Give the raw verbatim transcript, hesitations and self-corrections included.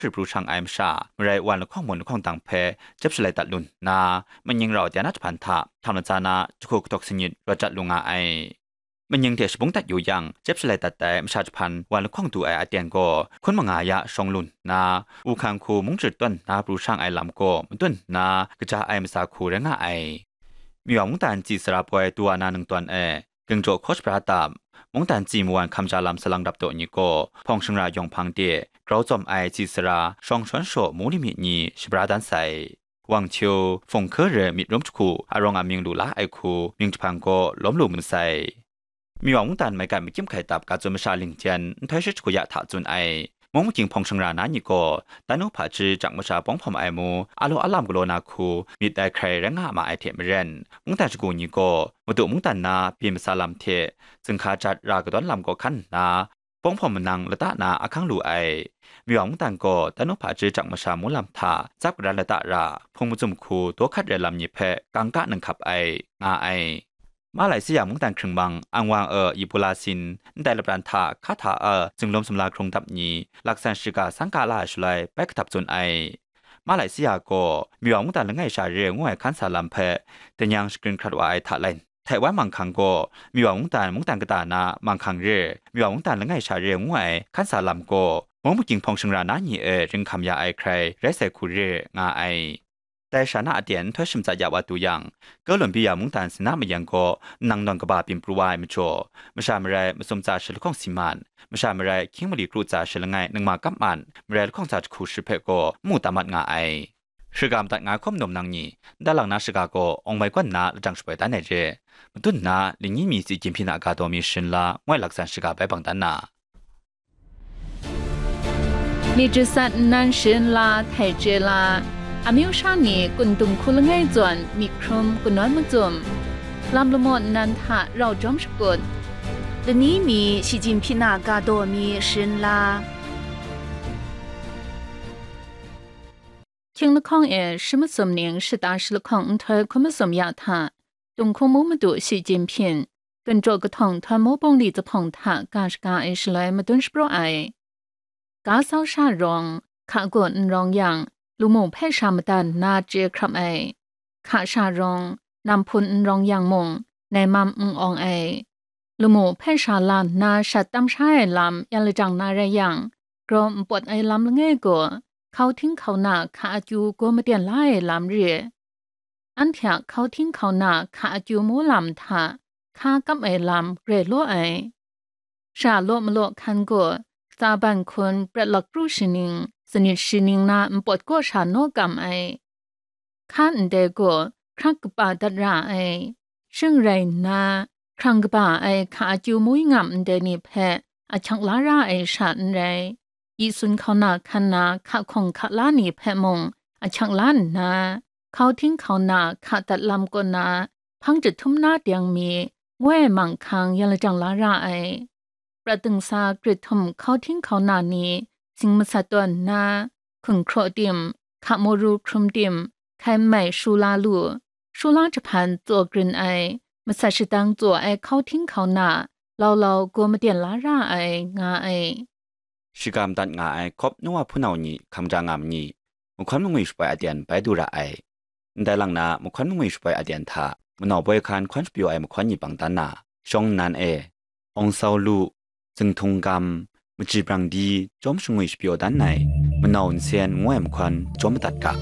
hkrit pru shang ai masha, marai wan lahkawng mun lahkawng dang hpe jep shalai dat lu nna, manying rau dai na jahpan hta htam latsa na jahku kahtawk sanit rawt jat lu nga ai. Manying hte shabung dat yu yang, jep shalai dat ai masha jahpan wan lahkawng du ai aten gaw hkun manga ya shawng lu nna, Uhkang hku mung chyarit tawn nna pru shang ai lam gaw madun nna kaja ai matsa hku rai nga ai. Miwa mungdan tsi sara poi du wa na ningtawn e, gingjaw hkaw shabra tam, mungdan tsi mawan hkamja lam salang rap taw ni gaw, hpawng shangra yawng hpang de, grau tsawm ai tsi sara, shawng shawn shaw mu limit ni shabra dan sai. Wang htiu, hpung hku re myit rum jahku, arawng amying lu la ai hku, mying jahpang gaw lawm lu masai. Miwa mungdan maigan makyim hkai tap ga tsun masha lingjen nhtoi shi jahku ya hta tsun ai. Mung makying hpawng shangra na ni gaw, dan nu hpaji jak masha pawng hpawm ai mu, a law a lam galaw na hku, myit dai hkrai rai nga ma ai hte maren, mungdan shagu ni gaw, madu mungdan na byin matsa lam hte, zinghka jat ra kadawn lam gaw hkan nna, pawng hpawm manang lata na ahkang lu ai. Miwa mungdan gaw dan nu hpaji jak masha mu lam hta tsap karan lata ra, hpung mazum hku daw hkat rai lam ni hpe kangka nang hkap ai, nga ai. Malaysia mungdan hkringmang Anwar e Ibola sin ndai lapran hta hka hta e zinglawm sumla hkrung dap ni, laksan shiga sangka la ai shaloi bai kahtap tsun ai. Malaysia gaw Miwa mungdan langai sha re ngu ai hkan sa lam hpe, danyang shagrin hkrat wa ai hta lai, Taiwan manghkang gaw Miwa mungdan mungdan kata na manghkang re, Miwa mungdan langai sha re ngu ai hkan sa lam gaw, mung makying hpawng shangra na ni e ringhkam ya ai hkrai rai sai hku re nga ai. Dai sha na aten nhtoi shim tsat ya wa du yang, Kolombiya mungdan Sina mayang gaw nang nawn kaba byin pru wa ai majaw, masha marai masum tsa shi lahkawng si man, masha marai hkying mali kru tsa shi langai ningma kap man, marai lahkawng tsa jahku shi hpe gaw n mu tam mat nga ai. Shiga madat nga hkawm num nang ni, nta lang na shiga gaw awng mai kawn nna lajang shapoi dan ai re. Madun nna, lingyi mi tsi gyinhpyin a ga daw mi sharin la, ngoi laksan shiga bai bang dan na. Myit jasat nnan sharin la htai chye la, amyu sha ni kun dung hku langai zawn myit hkrum kanawn macum, lam lamaw nnan hta rau jawm shakut, lani mi shi jinghpyin a ga daw mi sharin la. Hkying lahkawng e shi masum ning shata shi lahkawng nhtoi hkun masum ya hta, Tunghkung mu madu shi jinghpyin, ginjaw kahtawng htawng mu bungli zahpawng hta ga shaga ai shaloi madun shapraw ai. Ga sau sha rawng, hka gaw n rawng yang, lamu hpe sha madan nna chye hkrap ai. Hka sha rawng, nam hpun n rawng yang mung, nai mam n awng ai. Lamu hpe sha la nna shat tam sha ai lam yan lajang na rai yang, grau n pawt ai lam langai gaw, hkau hting hkau na hka akyu gaw maten la ai lam re. Anhte a hkau hting hkau na hka akyu mu lam hta hka kap ai lam grai law ai. Sha law malaw hkan gaw, tsa ban hkun prat lakru shaning, sanit shaning na npawt kaw sha naw kam ai. Hka ndai gaw hkrak kaba dat ra ai. Shing rai nna, hkrang kaba ai hka akyu mui ngam ndai ni hpe ahkyak la ra ai sha n rai. Yi sun hkau na hkan na hka hkawng hka la ni hpe mung ahkyak la nna, hkau hting hkau na hka dat lam kaw na, hpang jahtum na deng mi, ngoi manghkang yan lajang la ra ai. Prat dingsa grit htum hkau hting hkau na ni, sing masat tawn nna, hkun hkraw tim, hka mawru hkrum tim, hkai nmai shu la lu, shu la jahpan tsaw grin ai, masat shadang tsaw ai hkau hting hkau na, lau lau gaw maten la ra ai, nga ai. Shiga madat nga ai Kawp Nowa hpunau ni hkang ja nga ma ni, mahkawn mangwi shapoi aten bai du ra ai. Ndai lang na mahkawn mangwi shapoi aten hta, manau boi hkan hkawn shapyaw ai mahkawn ni bang dan na, shawng nnan e, awng sau lu, zingthung gam, machyi brang di, chyawm shangwi shapyaw dan ai, manau nsen ngu ai mahkawn chyawm madat ga.